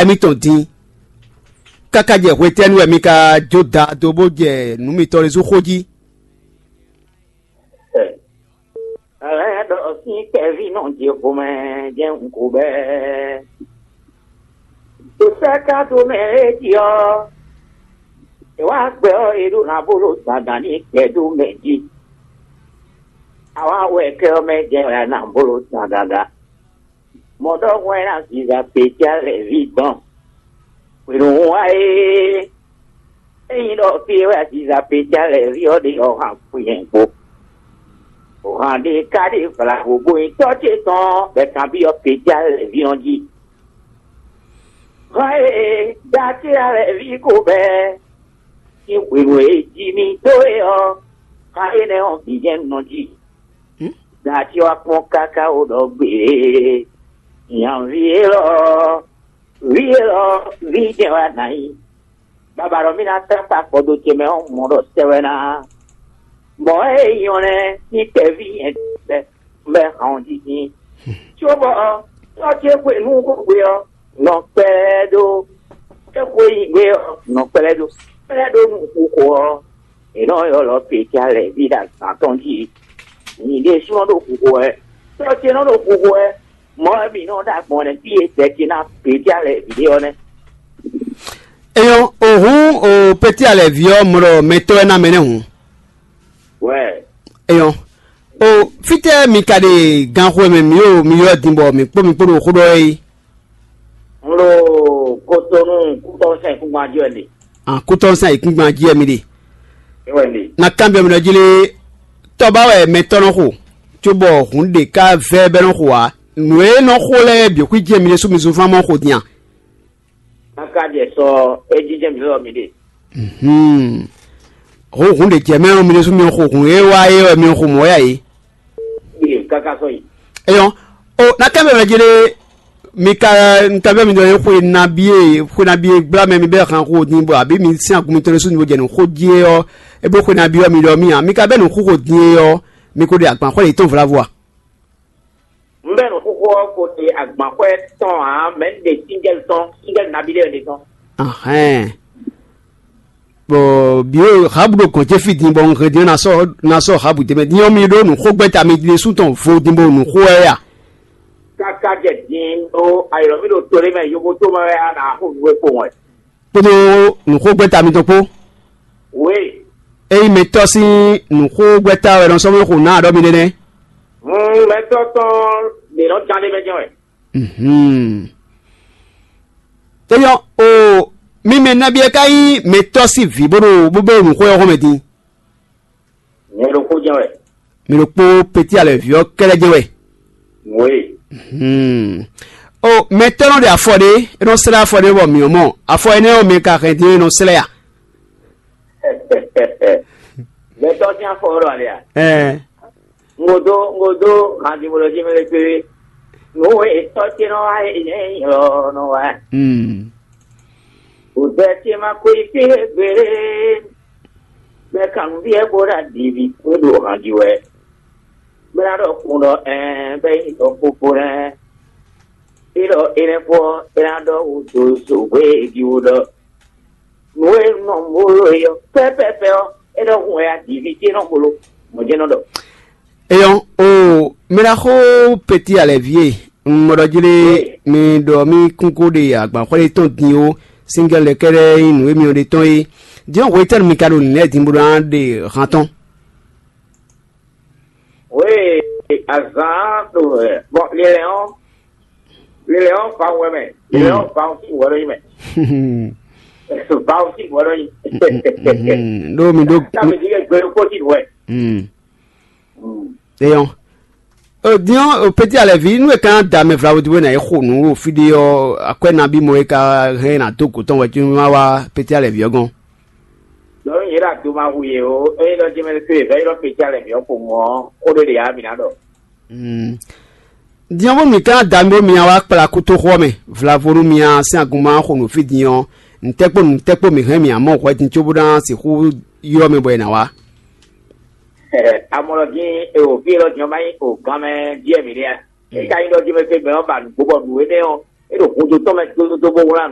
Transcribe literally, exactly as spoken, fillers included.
émítɔn din. Káká jɛ hwetɛ́nu wɛ mi ka jó da dó bó jɛ nǔ mitɔn ɖésú xó jí? Ɛlɛ́ ɖɔ sín kɛví nɔ jɛ xomɛ jɛ nǔ ko bɛɛ. Ɖo sɛ́ ka dó mɛ é jí ɔ́, è wá gbɛ ɔ́, è ɖó ná bó ɖo dandan ní kɛ dó mɛ jí. Awa wɛ kɛ ɔ́ mɛ jɛ wɛ ná bó ɖo dandan. Mɔ̌ ɖɔhun wɛ ná ziza Petyá lɛ̌ví dɔn. Hwenu hun wá é, ényí ɖɔ fí e wɛ ziza Petyá lɛ̌ví ɔ́ ɖe ɔ́ han kú nyɛ kpó. Han ɖé ka ɖe vlavo bó nyí tɔ́ ce tɔn bɔ è kanbyɔ́ Petyá lɛ̌ví ɔ́ jí. Han e Datíra lɛ̌ví ko bɛ́ sín hwenu e è ji mì dó é ɔ́, han énɛ́ ɔ́ bǐ jɛ́n un nɔ ji. Datíra kpɔ́n káká wó ɖɔ gbě. Nyanví élɔ́, vǐ élɔ́, vǐ jɛ́n wɛ a nǎ nyí. Baba ɖɔ mì ná tá kpa kpɔdo ce mɛ ɔ́, mɔ ɖɔ sɛ wɛ ná. Mɔ̌ e nyɔ́ lɛ́ɛ sín kɛví nyɛ bɛ́ bɛ́ hɔn jí dín. Cóbɔ ɔ́, tɔ́ ce xwe nú xwe ɔ́, nɔ kpɛ́ ɖó é xwe nyi gbé ɔ́, nɔ kpɛ́ ɖó kpɛ́ ɖó nú xixo ɔ́, è nɔ ylɔ́ Petyá lɛ̌ ví ɖo azǎn tɔn jí. Nyǐ ɖésúnɔ ɖo xixo wɛ, tɔ́ ce nɔ ɖo xixo wɛ. Mɔ̌ wɛ mǐ nɔ ɖo agbɔ̌n nɛ́ fí e dɛ ce ná Petyá lɛ̌ ví ɖé ɔ́ nɛ́. Eyɔn, o hǔn o Petyá lɛ̌ ví ɔ́ mɔ ɖɔ mɛtɔ́ wɛ ná mɛ nɛ́ hǔn. Wɛ. Eyɔn, o fítɛ́ mi ka ɖe ganxo e mɛ mǐ ɖo mi ylɔ́ din bɔ mǐ kpó mi kpó ɖo xó ɖɔ é? Un ɖo Kotonu kútɔ́ sɛn kúngban jí wɛ ɖe. An kútɔ́ sɛn ayǐkúngban jí wɛ mi ɖe. É wɛ ɖe. Na kanbyɔ́ mi ɖɔ jí lé, tɔ́ ba wɛ mɛtɔ́ nɔ xo, cóbɔ hǔn ɖě ká vɛ́ bɛ́ nɔ xo ǎ. Nǔ e nɔ xo lɛ́ɛ bǐ xwí jɛ mi ɖésú mi zunfán mɔ xo din a? Káká jɛ sɔ é jínjɛ́n mǐ lɔ mi ɖe. Hǔn hǔn ɖě jɛ mɛ ɔ́, mi ɖésú mi xo hǔn e wá é wɛ mi xo mɔ̌ yá é. Káká sɔ́ yi. Eyɔn, o na kɛ mɛ mɛ jele mi ka nta bɛ mi dɔ ye xwe nabi e xwe nabi e gbla mɛ mi bɛ han xo din bɔ abi mi sin agun mi tɔn su ni bo jɛ nu xo ji e ɔ, e bo xwe nabi ɔ mi dɔ mi a mi ka bɛ nu xo xo din e ɔ, mi ko de agban xɔ le tɔn vlavo a? Un bɛ nu xo xo ɔ ko de agban xɔ tɔn a mɛ un de singɛli tɔn singɛli nabi de tɔn. Ahɛn. Bɔ bi o habu ɖo gɔn ce fi din bɔ un hɛn din na sɔ na sɔ habu de mɛ din ɔ mi ɖo nu xo gbɛta mi le su tɔn vo din bo nu xo ɛ ya. Kaka jɛ din ɖo ayɔlɔ mi ɖo to ɖé mɛ yobo to mɛ wɛ a na xo nǔ e kpo wɛ. Kpódó nu xo gbɛta mi tɔn kpó. We. Eyi mɛ tɔ sín nu xo gbɛta wɛ nɔ sɔmɔ xo na aɖɔ mi nɛnɛ. Hun mɛ tɔ tɔn ɖe nɔ jan ɖé mɛ jɛn wɛ. Mhm. Eyɔ o mi mɛ nabi e ka nyí mɛ tɔ sín vǐ bó ɖo bó bɛ nu xo ɛ xɔ mɛ din. Nyɛ ɖokpó jɛn wɛ. Mi ɖokpó peti alɛ vǐ ɔ́ kɛlɛ jɛn wɛ. Wòye. Hmm. O mɛ tɔ́ nɔ ɖe afɔ ɖé, é nɔ slɛ́ afɔ ɖé bɔ mǐ ɔ́ mɔ. Afɔ énɛ́ ɔ́ mɛ ka hɛn dín é nɔ slɛ́ a? Mɛ tɔ́ sín afɔ ɔ́ ɖo alɛ a? Ɛɛ. Ŋodo ŋodo handi bolo jí mɛ lɛ kpé. Nǔ e tɔ́ ce nɔ wá é nyɛ nyɛ ɔ́ nɔ wá. Hmm. Vodɛ ce ma ko yi fí gbeɖé. Mɛ kan nǔ byɔ́ bó ɖo aɖǐví kpé ɖo han jí wɛ. Bó ná ɖɔ kun ɖɔ ɛɛ bɛ́ nyí ɖɔ kpokpo nɛ́. É ɖɔ énɛ́ kpó ɔ́, é ná ɖɔ wǔ dó zo hwé e jí wú ɖɔ. Nǔ e nɔ mó ɖo é ɔ́, pɛ́pɛ́pɛ́ ɔ́, é nɔ hun wɛ aɖǐví ce nɔ gbló. Mɔ̌ jɛ́n nɔ ɖɔ. Eyɔn o mɛɖaxó peti alɛvi e un mɔ ɖɔ jlé mi ɖɔ mi kún kó ɖe agbanxwɛ́ tɔn din ó, singɛl lɛ́ kɛ́ɖɛ́ nyí nǔ e mi ɔ́ ɖe tɔn é. Din ɔ́, hwetɛ́nu mi ka ɖo nǐ lɛ́ɛ din bó ná ɖe han tɔn? Oui, azǎn ɖo ɛ bɔ lilɛ ɔ́ lilɛ ɔ́ va wɛ mɛ lilɛ ɔ́ va sí wɛ ɖo yi mɛ va sí wɛ ɖo yi. Ɖo mi ɖo. Kámi ti kɛ gbɛ kó ti wɛ. Eyɔn. Din ɔ́, peti alɛvi nú e ka da mɛ vlavo di bó ná yi xo nǔ ɖo fí ɖé ɔ́, akwɛ́ nabí mɔ e ka hɛn ná dó gǒ tɔn wɛ cónú má wá peti alɛvi ɔ́ gɔ́n? Lɔ̌ nyɛ ɖo ado ma hu yě o, ényí ɖɔ jɛmɛ tó yě vɛ́ ylɔ́ peti alɛvi ɔ́ xo mɔ̌, xó ɖé ɖě ǎ mǐ ná ɖɔ. Din ɔ́, bónú mǐ ka ná da mi bónú mi ná wá kplá kútóxɔ ɔ́ mɛ, vlavo nú mi ná sín agun ma xo nǔ fí din ɔ́, nǔtɛ́kpó nǔtɛ́kpó mǐ hɛn mǐ ná mɔ hwɛ din cóbó ná sixú ylɔ́ mɛ bɔ è nǎ wá. Amɔlɔgin e o fí élɔ́ din ɔ́ ma nyí o gan mɛ díɛ mǐ ɖe a? É ka nyí ɖɔ jɛmɛ tó gbɛ ɔ́ ba nǔgbó bɔ nǔ énɛ́ ɔ́ é ɖo hudó tɔn mɛ tótótó bó wlán